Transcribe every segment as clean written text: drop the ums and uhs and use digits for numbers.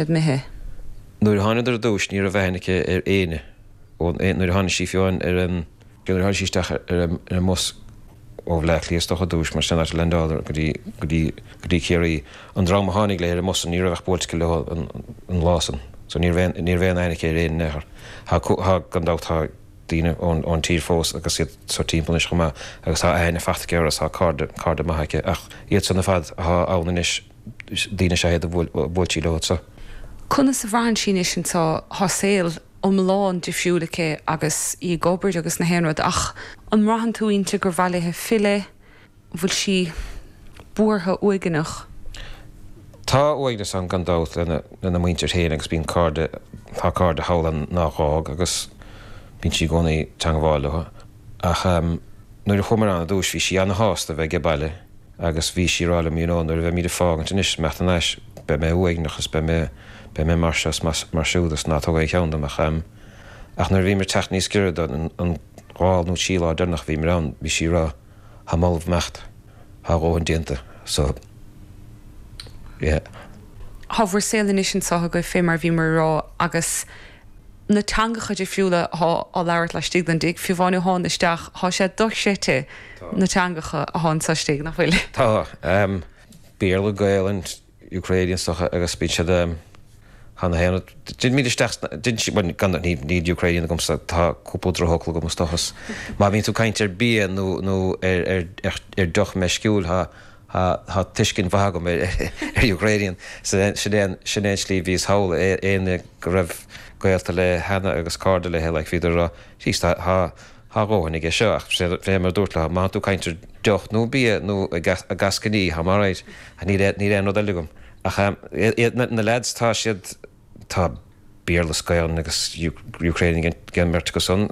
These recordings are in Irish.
Imithe. Nuair a thánadar ar dtúis ní raibh aithne aici ar éinne ó nuair a tháinig sí fiú amháin ar an nuair a tháinig sí isteach ar an ar an mbus ó Bhleá Cliath is dócha ar dtúis mar sin an áit a leaindeáladar go dtí go dtí go dtí Ciarraí. An dream a tháinig léi ar an mbus san ní raibh ach buailte aici leo an an lá san so ní raibh aon ní raibh aon aithne aici ar éinne in aon chor. Tá tá gan dabht tá daoine ón ón tír fós agus iad so timpeall anois chomh maith agus tá aithne fachta aici orthu is tá cairde cairde maithe aici ach iad san ar fad atá ann anois daoine is ea iad a bhuail sí leo anso. Conas a bhraitheann sí anois anso? Tá saol iomlán difriúil aici agus í ag obair agus na haon rud ach an mbraitheann tú inti gur mhaith léi filleadh? An bhfuil sí buartha, uaigneach? Tá uaigneas ann gan dabht lena lena muintir féin agus bíonn cairde, tá cairde thall ann nár dh'fhág agus bíonn sí i gcónaí ag teangmháil leo ach nuair a chuamar ann ar dtúis bhí sí ana-shásta a bheith age baile. Agus bhí sí ag rá liom, you know, nuair a bheimid ag fágaint anois, imeacht thar n-ais, beidh mé uaigneach is beidh mé, beidh mé mar seo is mar siúd is ná tóg aon cheann dom ach em, ach nuair a bhíomar ag teacht níos giorra do an, an dhá nó trí lá deireanach a bhíomar ann, bhí sí ag rá, tháim ullamh imeacht, thá a dhóthain déanta, so, yeah. Thá bhur saol anois anso agaibh fé mar a bhíomar ag rá agus na teangacha difriúla athá á labhairt laistigh den dtigh, fiú amháin ó thána isteach, thá sé dochreidte na teangacha athá anso istigh, nach bhfuil? Tá. Béarla, Gaelainn, Ukrainian is dócha agus bíonn siad thá na haon rud. D'imíd isteach sna, d'in sí, bhuel gan, ní, níl Ukrainian agamsa, tá cúpla drochfhocal agam is dócha. Má bhíonn tú ag caint ar bia nó, nó ar, ar, ar, ar deoch meisciúil, thá, Tá tuiscint mhaith agam ar Ukrainian. Sin é an tslí a bhíos thall. Éinne go raibh gaolta léi cheana agus cairde léi, like, bhíodar ag rá, jeez, tá a dhóthain aige seo. Ach fé mar a dúirt leo, má tá tú ag caint ar deoch nó bia nó ag eascainí, tá mé alright. Níl aon rud eile agam. Ach na lads, tá siad, tá Béarla is Gaelainn agus Ukrainian ag an mbeirt acu san,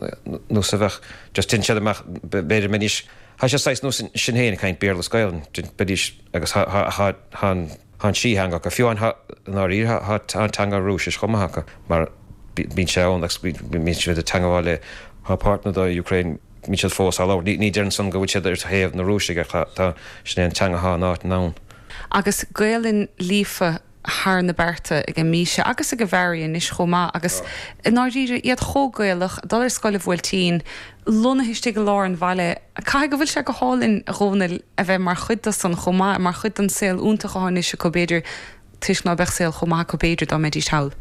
nós a bheadh, just téann siad amach, b'fhéidir mbeidís, tá sé saghas nós sinn féin ag caint Béarla is Gaelainn, beidís, agus tá, tá, tá an, tá an trí theanga acu, fiú amháin tá, i ndáiríre, tá, tá an teanga Rúisis chomh maith acu, mar bíonn sé ann agus bíonn siad ag teangmháil le, tá páirteanna de Ukraine, bíonn siad fós á labhairt, ní, ní deirim san go bhfuil siad ar thaobh na Rúisigh ach tá, tá, sin é an teanga atá in áit ann. Agus Gaelainn líofa thar na bearta ag Míse agus ag Mhary anois chomh maith agus i ndáiríre iad chomh Gaelach, ag dul ar scoil an Bhuailtín, lonnaithe istigh i lár an bhaile. Caithfidh go bhfuil sé go hálainn, a Dhónaill, a bheith mar chuid de san chomh maith, mar chuid den saol iontach atá anois acu b'fhéidir, toisc ná beadh saol chomh maith acu b'fhéidir dá mbeidís thall.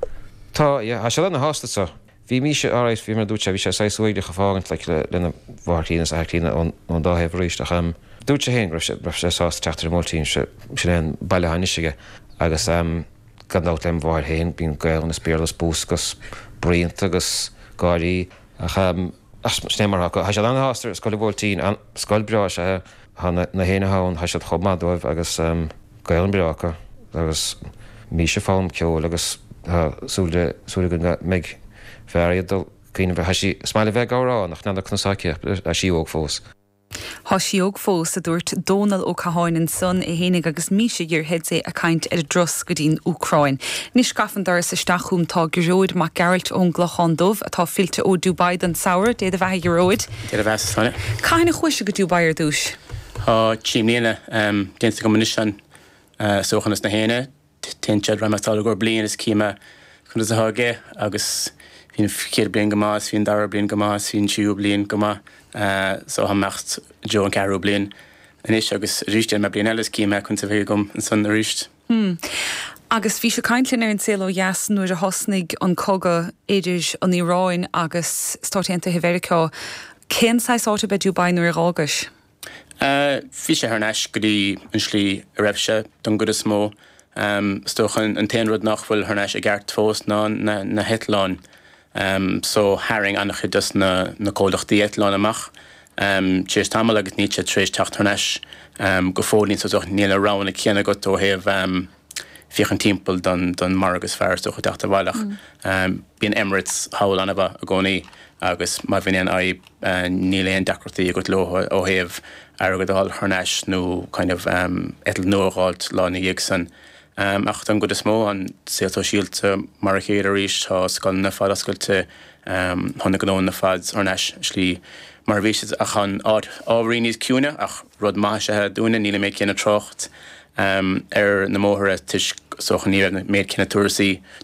Tá, yeah, tá siad ana-shásta so. Bhí Míse alright, bhí mar a dúirt sé, bhí sé saghas uaigneach ag fágaint like le lena mháthair chríonna is athair críonna ón ón dá thaobh arís ach em dúirt sé féin go raibh sé raibh sé sásta teacht ar an mBuailtín, sin sin é an baile atá anois aige agus em gan dabht lem mháthair féin bíonn Gaelainn is Béarla is bús agus bruíonta agus gáirí ach em ach sin é mar atá acu. Tá siad ana-shásta ar Scoil an Bhuailtín, an scoil breá is ea é. Tá na na héinne atá ann, tá siad chomh maith dóibh agus em Gaelainn breá acu agus Míse ag foghlaim ceoil agus tá súil le súil againn go mbeidh Mhary ag dul cuimhneamh tá sí is maith léi bheith ag amhrán ach n'fheadar conas atá aici ach tá sí óg fós. Thá sí óg fós, a dúirt Dónal Ó Catháin ansan, é fhéinig agus Míse Ghirshedze ag caint ar a dturas go dtí'n Úcráin. Anois gafa an doras isteach chugam tá Gearóid Mac Gearailt ón gClochán Dubh, atá fillte ó Dubai don samhradh. Dé do bheatha, a Ghearóid. Dé do bheatha, Sonia. Cathain a chuais-se go Dubai ar dtúis? Tá 3 mbliana déanta agam anois ann. Is dócha nós na héinne, téann siad roimh i gcomhair bliain is cím conas atá aige agus bhí an chéad bliain go maith is bhí an dara bliain go maith is bhí an tríú bliain go maith so tá mé imeacht i dtreo an ceathrú bliain anois agus arís déanfaidh mé bliain eile is cím conas a bheidh agam ansan arís. Hmm. Agus bhís ag caint linn ar An Saol Ó Dheas nuair a thosnaigh an cogadh idir an Iaráin agus Stáit Aontaithe Mheiriceá. Cén saghas áit ab ea Dubai nuair a dh'fhágais? Bhí sé thar n-ais go dtí an slí a raibh sé, don gcuid is mó. Is dócha an t-aon rud nach bhfuil thar n-ais i gceart fós ná na heitleáin. So tharraing an-chuid dos na comhlachtaí eitleán amach tar éis tamaill agus níl siad tar éis teacht thar n-ais go fóillín. So níl na roghanna céanna agat ó thaobh féachaint timpeall don margadh is fearr is dócha teacht abhaile ach bíonn Emirates thall an-mhaith i gcónaí agus má bhíonn aon fhadhb níl aon deacrachtaí agat leo ó thaobh airgead a fháil thar n-ais nó kind of eitilt nua a dh'fháilt lá ina dhiaidh san. Ach don gcuid is mó, an saol sóisialta mar a chéile arís, tá scoileanna ar fad oscailte, tá na gnóanna ar fad thar n-ais i slí mar a bhí siad ach an áit ábhairín níos ciúine ach rud maith is ea dúinne, níl an méid céanna trácht ar na mbóithre toisc. is dócha ní raibh an méid céanna turasaí.